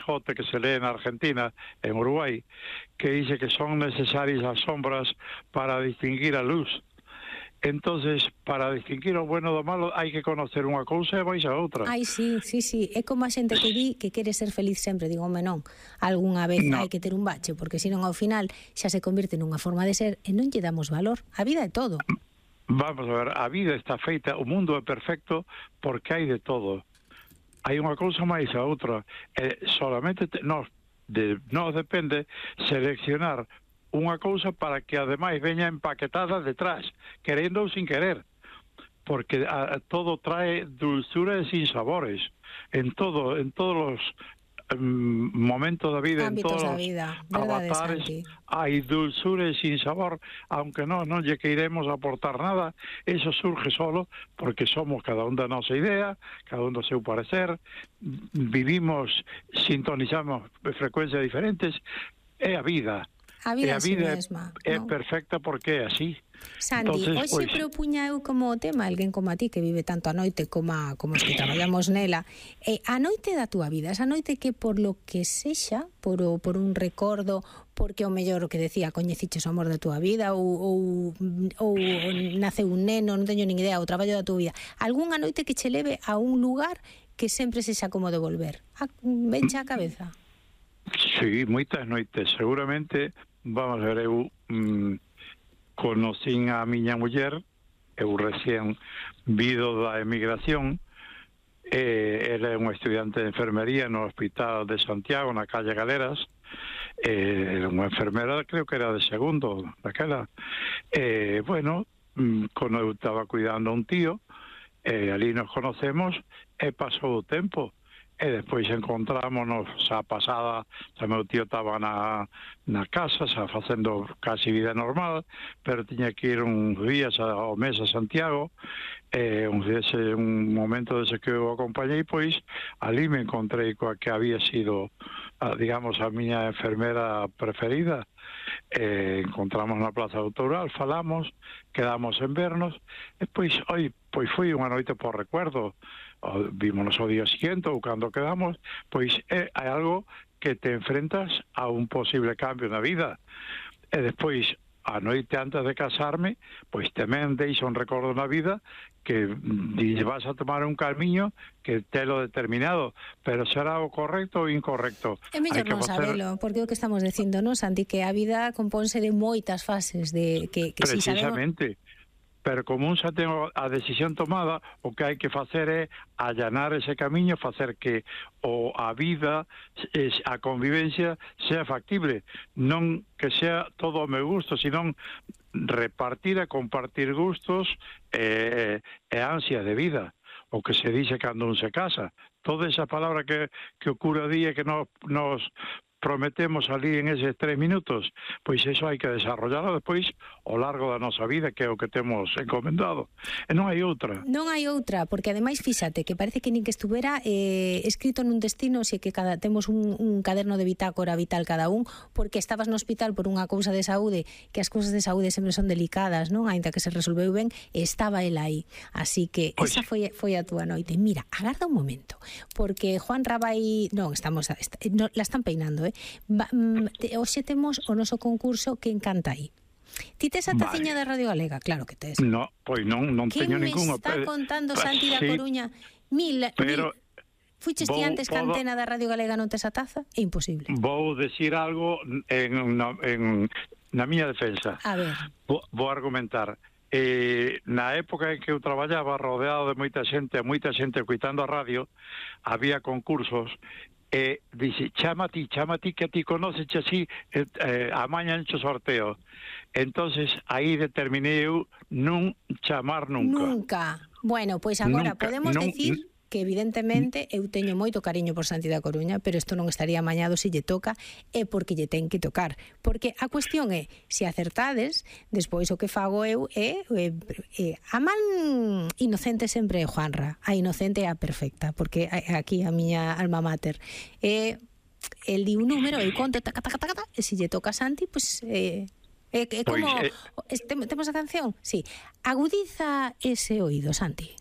Quijote que se lee en Argentina, en Uruguay, que dice que son necesarias las sombras para distinguir a luz. Entonces, para distinguir o bueno do malo, hai que conocer unha cousa e vais a outra. Ai, sí. É como a xente que di que quere ser feliz sempre. Digo, non, algunha vez hai que ter un bache, porque senón ao final xa se convirte nunha forma de ser e non lle damos valor. A vida é todo. Vamos a ver, a vida está feita, o mundo é perfecto porque hai de todo. Hai unha cousa máis a outra. Solamente nos depende seleccionar unha cousa para que ademais veña empaquetada detrás, querendo ou sin querer, porque todo trae dulzura e sin sabores en todos os momentos da vida, ámbitos en todos da vida, os avatares, hai dulzura e sin sabor, aunque non lle queiremos aportar nada, eso surge solo porque somos cada un da nosa idea, cada un do seu parecer, vivimos, sintonizamos frecuencias diferentes, é a vida. A vida mesma é perfecta porque é así. Santi, hoxe propuña eu como tema alguén como a ti que vive tanto a noite como os que traballamos nela, a noite da túa vida, esa noite que por lo que sexa, por un recordo, porque o mellor o que decía, coñeciches o amor da túa vida ou naceu un neno, non teño nin idea, o traballo da túa vida, algunha noite que che leve a un lugar que sempre sexa como de volver. Venche a cabeza? Sí, moitas noites, seguramente. Vamos a ver, eu conocín a miña muller, eu recién vido da emigración, era unha estudiante de enfermería no Hospital de Santiago, na calle Galeras, era unha enfermera, creo que era de segundo, daquela. Bueno, quando eu estaba cuidando a un tío, ali nos conocemos, e pasou o tempo. E despois encontrámonos a pasada, o meu tío estaba na casa, xa facendo casi vida normal, pero tiña que ir uns días ao mes a Santiago, un momento desde que eu acompañei, pois ali me encontrei coa que había sido, digamos, a miña enfermera preferida. Encontramos na Plaza Autoral, falamos, quedamos en vernos, e pois foi unha noite por recuerdo. Vímonos o día siguiente ou cando quedamos, pois é algo que te enfrentas a un posible cambio na vida. E despois, a noite antes de casarme, pois tamén deixa un recordo na vida que vas a tomar un camiño que telo determinado, pero será o correcto ou incorrecto. É mellor non sabelo, porque o que estamos dicindo, non, Santi, que a vida compónse de moitas fases, de que precisamente. Si sabemos... Pero como un xa ten a decisión tomada, o que hai que facer é allanar ese camiño, facer que a vida, a convivencia, sea factible. Non que sea todo ao meu gusto, senón repartir e compartir gustos e ansia de vida. O que se dice cando un se casa. Toda esa palabra que o cura di e que nos prometemos ali en eses 3 minutos, pois eso hai que desarrollarlo despois ao largo da nosa vida, que é o que temos encomendado. E non hai outra. Non hai outra, porque ademais, fíxate, que parece que nin que estuvera escrito nun destino, se que temos un caderno de bitácora vital cada un, porque estabas no hospital por unha cousa de saúde, que as cousas de saúde sempre son delicadas, non? Ainda que se resolveu ben, estaba el aí. Así que esa foi a túa noite. Mira, agarda un momento, porque Juan Rabai, la están peinando, hoxe temos o noso concurso Que encanta aí. Ti tes a taciña da Radio Galega? Claro que tes. No, pois non teño ninguna. Que me está contando Santi da Coruña? Fuches ti antes que antena da Radio Galega non tes a taza? É imposible. Vou decir algo na miña defensa. A ver. Vou argumentar. Na época en que eu traballaba rodeado de moita xente coitando a radio, había concursos e dixe, chama ti que ti conoces así, amaña encho sorteo. Entonces aí determinei eu non chamar nunca. Bueno, pois agora podemos decir que evidentemente eu teño moito cariño por Santi da Coruña, pero isto non estaría amañado se lle toca, é porque lle ten que tocar. Porque a cuestión é, se acertades, despois o que fago eu é a man inocente sempre é Juanra, a inocente é a perfecta, porque aquí a miña alma mater é el di un número, eu conto, taca, e se lle toca a Santi, pois como temos a canción? Sí, agudiza ese oído, Santi.